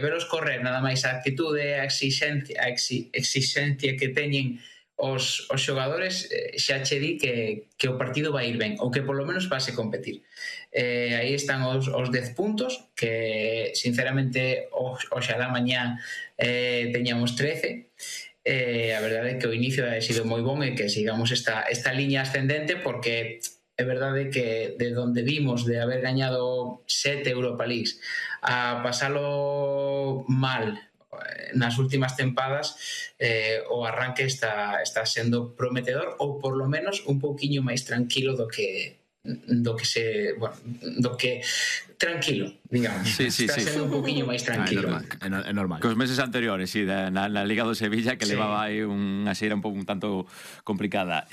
veros correr, nada máis a actitude, a exigencia que teñen os xogadores, xa che di que o partido vai ir ben, ou que polo menos vase competir. Aí están os 10 puntos, que sinceramente oxalá mañá teñamos 13. A verdade é que o inicio ha sido moi bon e que sigamos esta liña ascendente, porque é verdade que de donde vimos de haber gañado 7 Europa Leagues a pasalo mal nas últimas tempadas, o arranque está sendo prometedor, ou por lo menos un pouquiño máis tranquilo do que tranquilo, digamos. Está sendo un pouquiño máis tranquilo. É normal. Cos meses anteriores, na Liga do Sevilla, que levaba aí unha xeira un tanto complicada.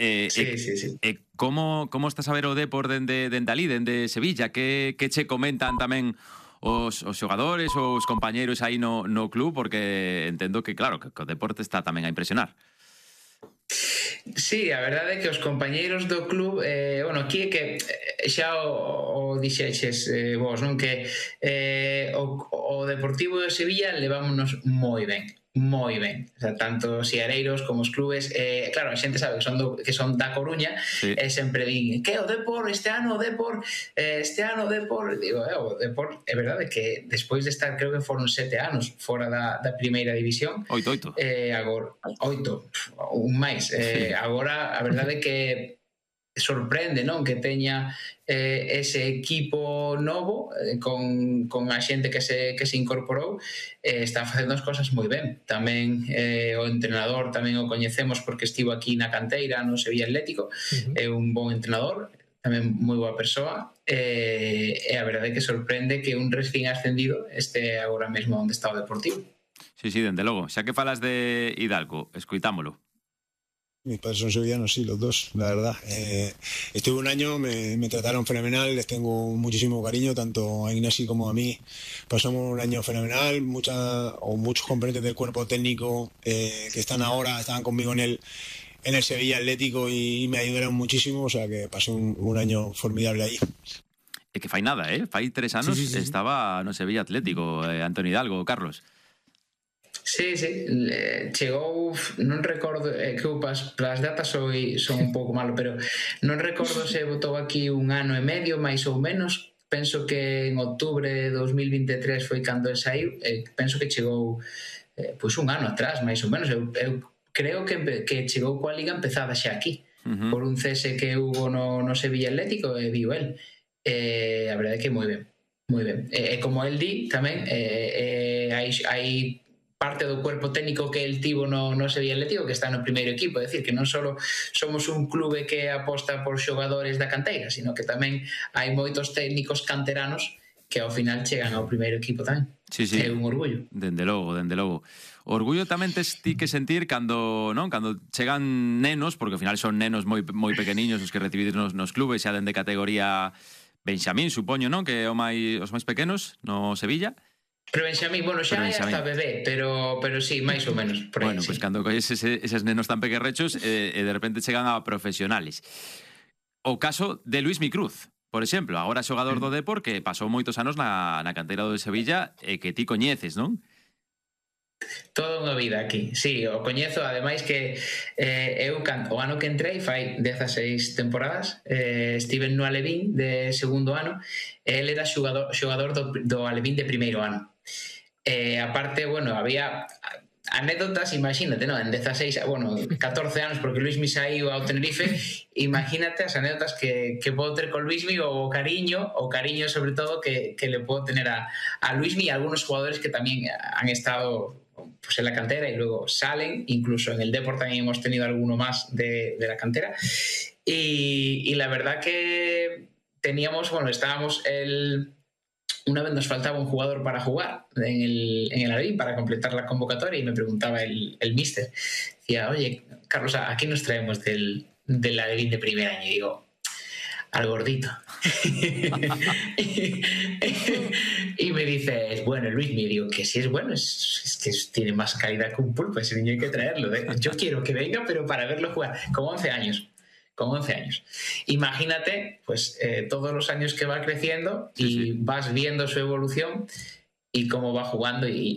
Como estás a ver o Depor dende ali, dende Sevilla? Que che comentan tamén os xogadores ou os compañeiros aí no club? Porque entendo que, claro, que o deporte está tamén a impresionar. Sí, a verdade é que os compañeiros do club, aquí é que xa o dixeches vos, non? Que o Deportivo de Sevilla levámonos moi ben. O sea, tanto os siareiros como os clubes, claro, a xente sabe que son da Coruña, e sempre din que o Depor, este ano o Depor, digo, o Depor, é verdade que despois de estar, creo que foron 7 anos fora da primeira división, 8, agora 8, un máis, agora a verdade é que sorprende, non? Que teña ese equipo novo con a xente que se incorporou, está facendo as cosas moi ben. Tamén o entrenador tamén o coñecemos porque estivo aquí na canteira no Sevilla Atlético, é un bon entrenador, tamén moi boa persoa, e a verdade é que sorprende que un recién ascendido este agora mesmo onde está o Deportivo. Sí, dende logo. Xa que falas de Hidalgo, escoitámolo. Mis padres son sevillanos, sí, los dos, la verdad. Estuve un año, me trataron fenomenal, les tengo muchísimo cariño, tanto a Ignasi como a mí. Pasamos un año fenomenal, muchos componentes del cuerpo técnico que estaban conmigo en el Sevilla Atlético y me ayudaron muchísimo, o sea que pasé un año formidable ahí. É que fai nada, fai 3 anos sí. Estaba no Sevilla Atlético, Antonio Hidalgo, Carlos. Sí, chegou, non recordo, que eu as datas son un pouco malo, pero non recordo se botou aquí un ano e medio, máis ou menos. Penso que en outubro de 2023 foi cando el saiu, penso que chegou pois un ano atrás, máis ou menos. Eu creo que chegou coa liga empezada xa aquí, por un cese que hubo no Sevilla Atlético, e viu el. A verdade é que moi ben. E como el di tamén, hai parte do cuerpo técnico que el tivo no Sevilla Atlético que está no primeiro equipo, é dicir, que non só somos un clube que aposta por xogadores da canteira, sino que tamén hai moitos técnicos canteranos que ao final chegan ao primeiro equipo tamén. Sí. É un orgullo. Dende logo. Orgullo tamén tes ti que sentir cando chegan nenos, porque ao final son nenos moi pequeniños os que recibides nos clubes, xa dende categoría Benxamín, supoño, non? Que os máis pequenos no Sevilla. Pero Benxamín, xa é hasta bebé, pero sí, máis ou menos. Bueno, pois cando colles eses nenos tan pequerrechos e de repente chegan a profesionales. O caso de Luismi Cruz, por exemplo, agora xogador do Depor, que pasou moitos anos na canteira do Sevilla e que ti coñeces, non? Toda unha vida aquí, sí, o coñezo, ademais que eu o ano que entrei fai 16 temporadas, estive no Alevín de segundo ano, e el era xogador do Alevín de primeiro ano. Aparte, había anécdotas, imagínate, non? En 14 anos, porque Luismi saiu ao Tenerife, imagínate as anécdotas que podo ter con Luismi, o cariño sobre todo que le podo tener a Luismi, e algunos jugadores que tamén han estado en la cantera y luego salen, incluso en el Depor también hemos tenido alguno más de la cantera, y la verdad que teníamos, estábamos una vez nos faltaba un jugador para jugar en el Alevín para completar la convocatoria, y me preguntaba el míster, decía, oye, Carlos, ¿a quién nos traemos del Alevín de primer año? Y digo, al gordito. Y me dice, bueno, Luis, me digo que si es bueno, es que tiene más calidad que un pulpo, ese niño hay que traerlo. Yo quiero que venga, pero para verlo jugar, con 11 años. Imagínate, todos los años que va creciendo y vas viendo su evolución y cómo va jugando, y